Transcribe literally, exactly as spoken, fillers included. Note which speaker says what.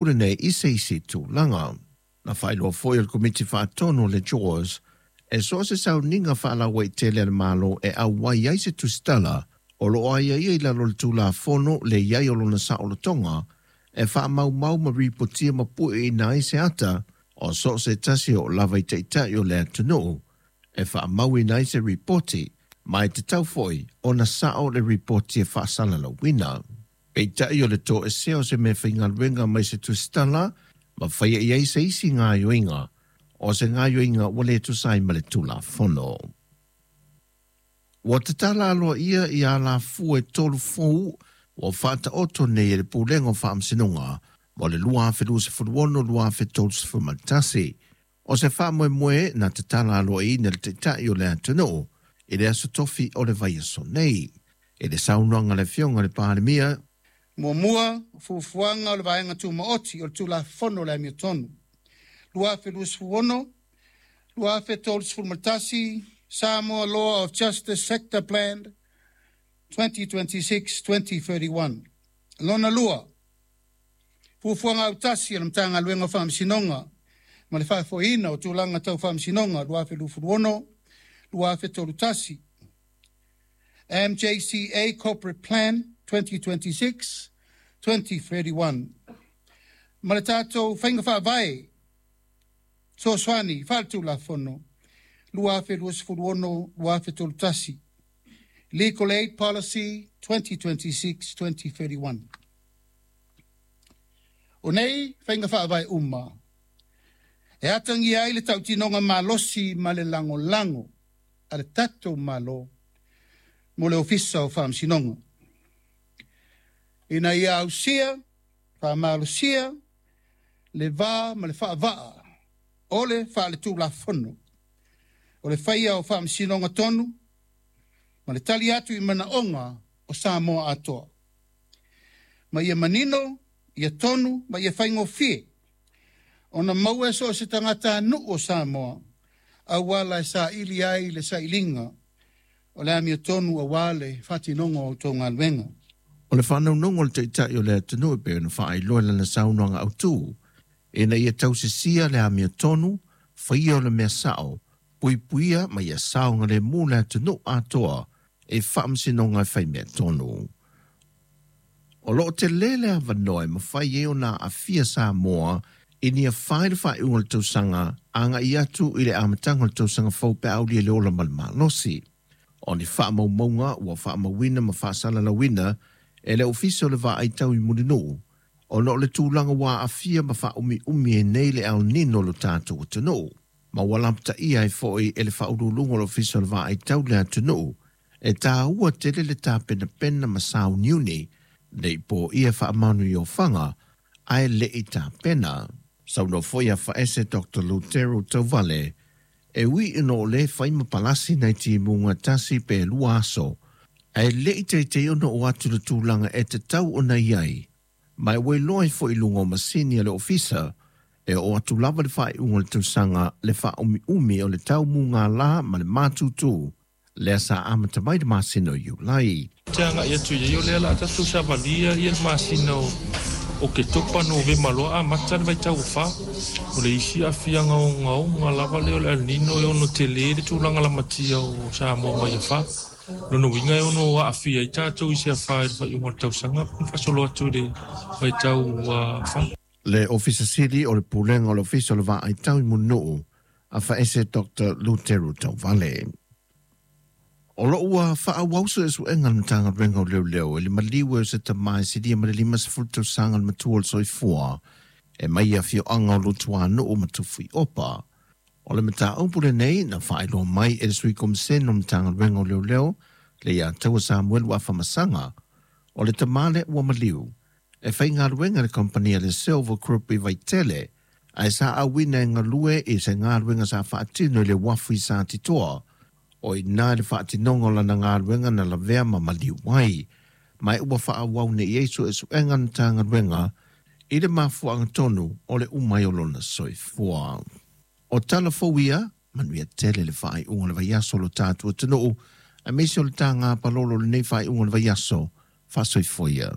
Speaker 1: Lenei i se isi tulaga. Na faailoa foi e le Komiti Faatonu o le Jaws, e so o se sauniga faalauaitele a le Malo e auai ai se tusitala o lo o aiaia i lalo o le Tulafono le i ai o lona saolotoga e faamaumau ma ripotia ma pueina ai se ata o so o se tasi o lava i taitai o le atunuu e faamauina ai se ripoti ma e tatau foi ona sao le ripoti e faasalalauina. Peitai o le toesea o se mea faigaluega mai se tusitala ma faia i ai se isi gaoioiga o se gaoioiga ua le tusa ai ma le Tulafono. Ua tatala aloaia i alafua e tolu fou ua faataoto nei e le Pulega o Faamasinoga mo le lua afe luasefulu ono lua afe tolusefulu ma le tasi. O se faamoemoe na tatala aloaiaina le Taitai o le atunuu i le aso Tofi o le vaiaso nei. I le saunoaga a le Afioga i le Palemia,
Speaker 2: Muamua, fuafuaga o le Vaega Tumaoti o le Tulafono o le Amiotonu lua afe luasefulu ono lua afe tolusefulu ma le tasi, Samoa Law of Justice Sector Plan twenty twenty-six twenty thirty-one. Lona lua, fuafuaga autasi a le Matagaluega o Faamasinoga ma le Faafoeina o Tulaga Tau Faamasinoga lua afe luasefulu ono lua afe tolusefulu tasi, M J C A Corporate Plan twenty twenty-six twenty thirty-one, ma le tatou Faiga Faavae Fesoasoani Faaletulafono lua afe luasefulu ono lua afe tolusefulu tasi, Legal Aid Policy twenty twenty-six twenty thirty-one. O nei faiga faavae uma e atagia ai le tautinoga malosi ma le lagolago a le tatou Malo mo le Ofisa o Faamasinoga ina ia ausia faamalosia le va ma le faavaa o le faaletulafono o le faia o faamasinoga tonu ma le tali atu i manaoga o Samoa atoa. Ma ia manino, ia tonu ma ia faigofie ona maua e so o se tagatanuu o Samoa auala e saili ai le sailiga o le amiotonu auā le faatinoga o outou galuega.
Speaker 1: O le faanaunaug o le Taitai o le atunuu e pei ona faailoa i lana saunoaga autu, ina ia tausisia le amiotonu, faia o le mea sao, puipuia ma ia saogalemu le atunuu atoa e faamasinoga e faimea tonu. O loo tele le avanoa e mafai ai ona aafia Samoa i ni afa i le faaiuga o le tausaga agai atu i le amataga o le tausaga fou pe aulia le ola ma le malosi. O ni faamaumauga ua faamauina ma faasalalauina e le Ofisa o le Vaai Tau i Mulinuu, ona o le tulaga ua aafia ma faaumiumi ai nei le El Nino lo tatou atunuu. Ma ua lapataia ai foi e le faauluuluga o le Ofisa o le Vaai Tau le atunuu, e taua tele le tapenapena ma sauniuni nei po ia faamanu i ofaga ae le i tapena. Saunoa foi afaese Doctor Lutero Tauvale, e ui ina o lē fai ma palasi nai timuga tasi pe lua aso, ae le i teitei ona o atu le tulaga e tatau ona i ai. Ma e ua iloa ai foi i luga o masini a le ofisa, e oo atu lava le faaiuga o le tausaga le faaumiumi o le taumugālā ma le matutu lea sa amata mai le masina o Iulai.
Speaker 3: Te agai atu ia o lea la tatou savalia ia le masina o Oketopa, Novema loa amata le vaitau o fa. O le isi aafiaga ogaoga lava lea o le El Nino e ono tele le tulaga lamatia o Samoa mai afa. Lona uiga e ono aafia ai tatou i se afa i le faaiuga o le tausaga faasolo atu i le vaitau fa.
Speaker 1: Le Ofisa Sili o le Pulega o le Ofisa o le Vaai Tau i Mulinuu, afaese Doctor Luteru Tauvale. O loo ua faaauau suesuega a le Matagaluega o Leoleo i le maliu e o se tamā e silia ma le limasefulu tausaga le matua o le soifua e mai afioaga o Lutuanuu ma Tufuiopa. O le mataupu lenei na faailoa mai e le Sui Komisene o le Matagaluega o Leoleo le ia Taua Samuelu Afamasaga. O le tamā lea ua maliu e faigaluega le kompania le Silver Group i Vaitele, ae sa auina e galue i se galuega sa faatino i le uafu i Satitoa. O i ina le faatinoga o lana galuega na lavea ma maliu ai, ma e ua faaauau nei ai suesuega a le Matagaluega i le mafuaaga tonu o le umai o lona soifua. O tala fou ia, manuia tele le faaiuga o le vaiaso o lo tatou atunuu, aemaise o le taga palolo o lenei faaiuga o le vaiaso. Faasoifua ia.